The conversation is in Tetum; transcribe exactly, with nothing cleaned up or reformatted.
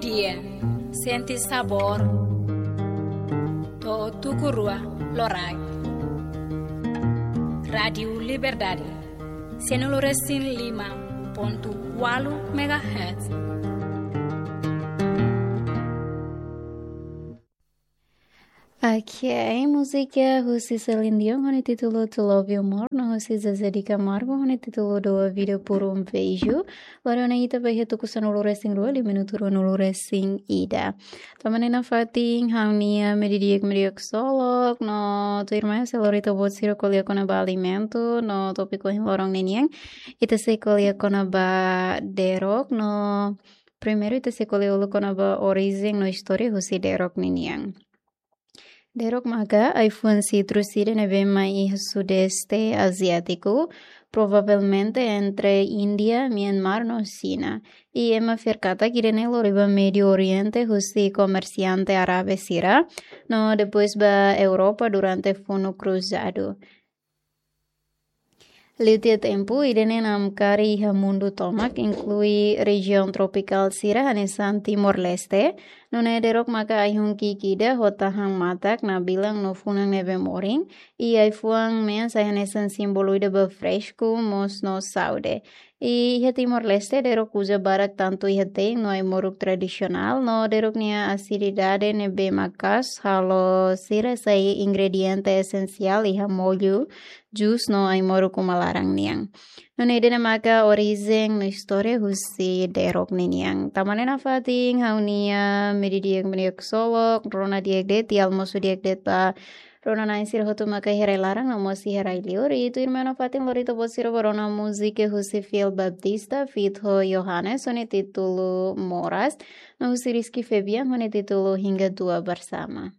Dia, sente sabór. To'o tuku rua loraik. Rádiu Liberdade, sianulu resin lima pontu ualu megahertz. Ok, múzika husi Celine Dion ho nia títulu To Love You More, no husi Zezé de Camargo ho nia títulu Dou a Vida por um Beijo. Lori ona ita ba iha tuku sanulu resin rua, liu minutu ruanulu resin ida. Tanba ne'e nafatin ha'u-nia mediodía, mediodía ksolok, no tuirmai sei lori ita-boot sira ko'alia kona-ba alimentu, no tópiku ohin loron ninian ita sei ko'alia kona-ba derok, no primeiru ita sei ko'alia uluk kona-ba orijen no istória husi derok ninian. Derok maka ai-fuan sitrus ida ne'ebé mai iha Sudeste Aziátiku, provavelmente entre Índia, Myanmar no Xina. I ema fiar katak ida-ne'e lori ba Médio Oriente husi komersiante árabe sira, no depois ba Europa durante funu kruzadu. Liu tiha tempu, ida-ne'e namkari iha mundu tomak, inklui rejiaun tropikál sira hanesan Timor-Leste. Nune'e derok maka ai-hun ki'ik ida ho tahan matak, nabilan no funan ne'ebé morin. I ai-fuan mean sai hanesan símbolu ida ba fresku, moos no saúde. I iha Timor-Leste derok uza barak tantu iha te'in no ai-moruk tradisionál, no derok nia asididade ne'ebé maka'as halo sira sai ingrediente esensiál iha mollu, jus no ai-moruk uma laran nian. Nune'e ida-ne'e maka orijen no istória husi derok ninian. Tanba ne'e nafatin ha'u-nia mediodía, mediodía ksolok, rona di'ak de'it, i almosu di'ak de'it ba rona-na'in sira hotu maka iha rai-laran no mós iha rai-liur. I tuirmai nafatin lori ita-boot sira ba rona múzika husi Phil Baptista feat ho Johannes ho nia títulu Moras, no husi Rizky Febian ho nia títulu Hingga Tua Bersama.